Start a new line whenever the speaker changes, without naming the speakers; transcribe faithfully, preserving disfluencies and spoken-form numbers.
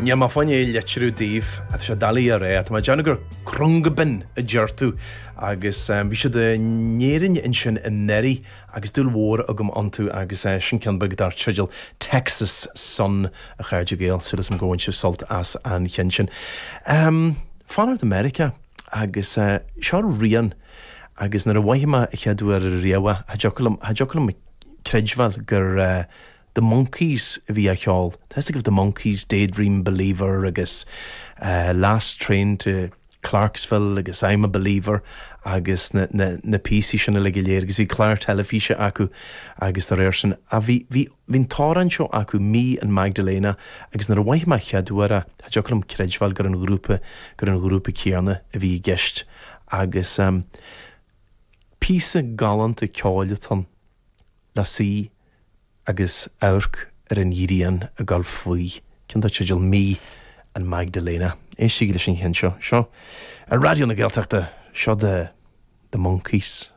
Níl mé fá choinne é a litriú daoibh, tá sé doiligh a rá, tá mé ag déanamh gur Khruangbin a deir tú agus bhí siad in Éirinn ansin anuraidh agus dúil mhór agam iontu agus sin ceann beag dar teideal Texas Sun a chairde Gael, súil agam gur bhain sibh sult as an cheann sin. Fanacht i Meiriceá agus seo rian agus nuair a mhothaigh mé a chéad uair riamh cha dtiocfadh liom, cha dtiocfadh liom creidbheáil gur The Monkees a bhí á cheol. Tá fhios agaibh The Monkees, Daydream Believer agus Last Train to Clarksville agus I'm a Believer agus na, na, na píosaí sin uilig go léir agus bhí clár teilifíse acu agus dá réir sin a bhí, bhí, bhí an t-amhrán seo acu Me and Magdalena agus nuair a mhothaigh mé chéad uair é, cha dtiocfadh liom creidbheáil gur an ghrúpa, gur an ghrúpa céanna a bhí i gceist agus um, píosa galánta ceoil atá ann le suí agus amharc ar an ghrian ag dul faoi. Ceann dar teideal Me and Magdalena. Éistigí leis an cheann seo. Seo ar Raidió na Gaeltachta seo The, the Monkees.